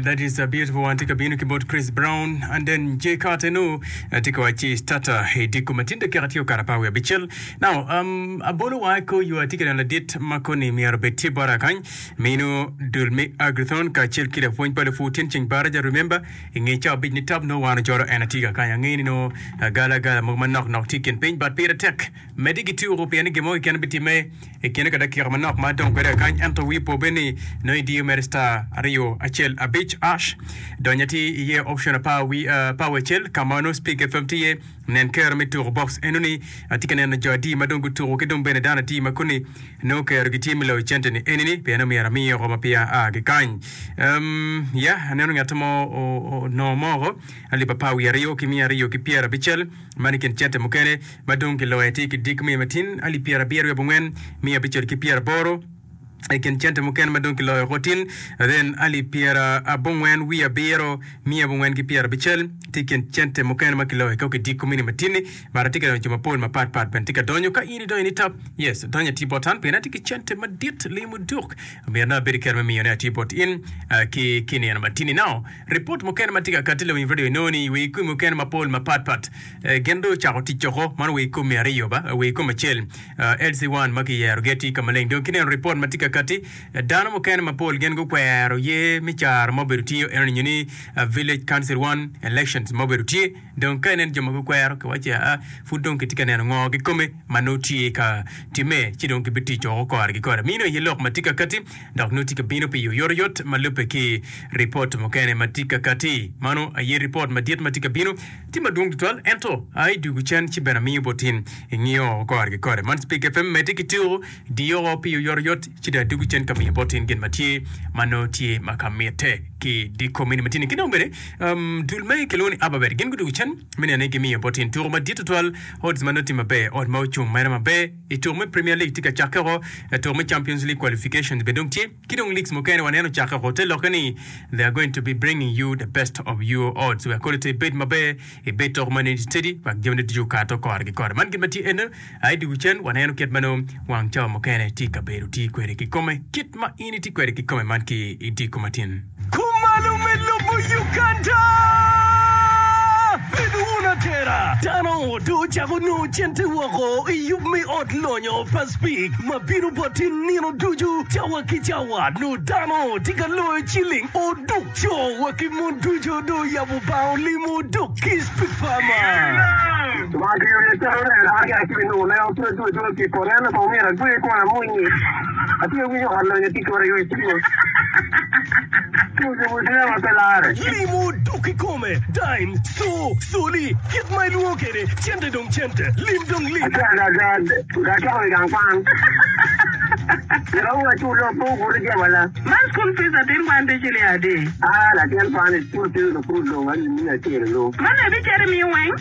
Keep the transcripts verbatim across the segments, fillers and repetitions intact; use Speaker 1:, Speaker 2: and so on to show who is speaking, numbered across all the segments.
Speaker 1: That is a beautiful one. Tye ka bino ki bot Chris Brown and then Jay Carter nu tye ka wacci starter i diko ma tin dakika tye okato apar wiye abicel. Now, um, abolo wa ko yo atye ka neno ladit ma koni myero obed tye bota kany mino dul me Agrithon kacel ki lapwony pa lupur tin ceng baraja remember i nge cawa abic ni tap nongo wan ojoro en atye ka kany angeyo ni nongo agala agala mogo manok nok tye i kin piny but pire tek Medde ki tuko pien ni gin mo keken bitimme i kine ka dakika manok ma adong kwede kakany. Ento wi po bene ni nongo idiyo mere star aryo acel abic ash. Dony atir iye option apar wi apar wi acel ka ma nongo Speak FM tye iye. Nen kero me tuko box eno ni atye ka neno jo adi ma dong gutuko ki dong bene dano adi ma koni nongo kero gitye me loyo cente ni eni ni pien omyero amiye oko ma peya aa ki kany. Um, yeah, aneno ngat mo onongo moko alip apar wiye aryo ki miya aryo ki pyerabicel. Man i kin cente mukene ma dong kiloyo atir ki dik miya matin alip pyerabiro wiye abongwen miya abicel ki pyeraboro. I kin cente mukene ma dong kiloyo oko tin then alip pyerabongwen wiye abiro miya abongwen ki pyerabicel tye i kin cente mukene ma kiloyo oko ki dik mini matin-ni. But atye ka neno jo mapol mapat pat bene tye ka donyo. Ka in idonyo ni tap, yes, donyo atir bot an pien atye ki cente madit limo duk. Myero nongo abed ki kero me miyone atir bot in ki ki nino matin-ni. Now, Ripot mukene ma tye ka katti lawiny radio inongo ni wi komi mukene mapol mapat pat gin dong ocako tic oko man wi komi aryo ba wi komi acel L C one ma kiyero gi atir ka maleng dong kineno ripot ma tye ka katti dano mukene mapol gin gukwero ye me caro ma obedo tye eno ni nyo ni village council one elections ma obedo tye dong ka inen jo ma gukwero kiwaci aa pud dong kitye ka neno ngo kikome ma nongo tye ka time ci dong gibitic oko kore ki kore mino aye lok ma tye ka katti dok nongo tye ka bino pi oyotoyot ma lubbe ki ripot mukene ma tye ka katti. Mano aye ripot madit ma tye ka bino. Tye madwong tutwal, ento a idwogo cen ci bene amiyo bot in ingiyo kore ki kore. Man Speak F M medde ki tuko, diyo oko pi oyotoyot ci dong adwogo cen ka miyo bot in gin ma tye ma nongo tye ma ka mitte ki di komini ma tye-ni. Ki dong bene, um, dul me kilwongo ni Ababet gin gudwogo cen me neno ni gimiyo bot in tuko madit tutwal, odds ma nongo tye maber, ot ma ocung mere maber. I tuko me Premier League tye ka cakke woko, tuko me Champions League qualifications bene dong tye, ki dong leagues mukene waneno ocakke woko. Te lokke ni they are going to be bringing you the best of your odds wek kodi te ibed maber, ibed toko ma neni steady wek jamine ducu okato kore ki kore. Man gin ma tye eno, aye dwogo cen waneno kit ma nongo wang cawa mukene tye ka bedo tye kwede kikome, kit ma in itye kwede kikome man ki i diko matin.
Speaker 2: Kumalo me lobo Uganda! Bedo wun atera! Dano dong ocako nongo cente woko i yub me ot lonyo pa Speke ma bino bot in nino ducu cawa ki cawa. Nongo dano tye ka loyo ciling oduk. Co wa ki mon ducu dong oyabo bang olimo oduk ki Speke Farmer. Limo dok kikome, dime, co, coli, kit ma ilwongo kwede, cente dong cente, lim dong lim.
Speaker 3: Man school fees atin kwan tye ciling adi? Man abicito imiyo weng?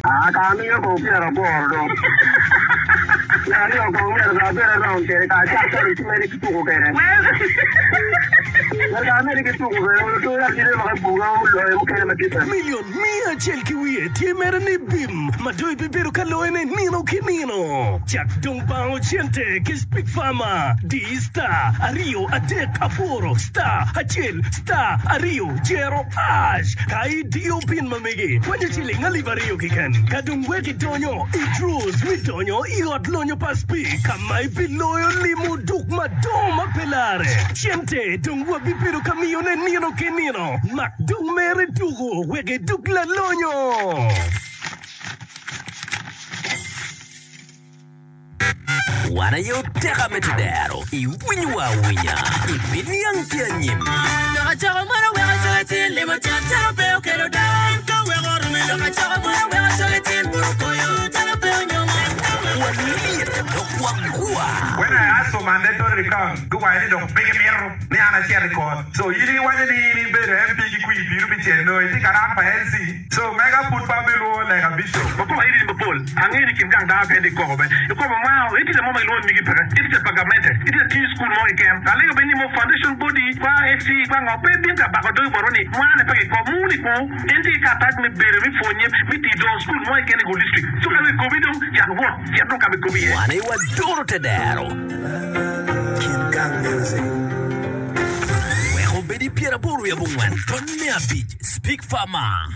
Speaker 2: Milion miya acel ki wiye tye mere ni bim ma dong ibibedo ka loyone nino ki nino. Cak dong bango cente ki Speak Farmer. Di star aryo adek aboro star acel star aryo jero ash ka idiyo pin ma megi kwanyo ciling alip aryo keken. Ka dong wek idonyo i draws me donyo i ot lonyo pa Speak ka ma ibiloyo limo duk madongo ma pe larre. Cente dong wabibedo ka miyone nino ki nino. Mak dong mere tuku wek iduk lalonyo.
Speaker 4: Wan aye oteka me tedero, iwinyowa awinya, ibiniang ki anyim. Walyet dok wagwa.
Speaker 5: When I ask for mandatory recount, guwaco ni dong pe gimito ni an acit i kot. So in iwaco ni in ibedo M P ki kwir piru pi cel nongo itye ka run pa L C. So mega pud pe abilwongo lega Bishop.
Speaker 6: Wakoko iri mapol. Angeyo ni kin gang dano kene koko be. I kwo pa mwaka, itye mo ma gilwongo ni migi peke. Itye pa gamente. Itye tiyo i cukul mo keken. Alego bene ni mo foundation body kwa F C kwa ngo pe bin ka bako dogi botwa ni mwane pe kikob. Muni ku en tye ki karatac me bedo me pwonye me tiyo dongo cukul mo keken i Gulu district. So ka dong ikobi dong cak wot cit dong ka ma ikobi iye.
Speaker 4: Wan aye waduro tedero. Wek obed i Odi pyeraboro wiye abongwen, tony me abic, Speak Farmer.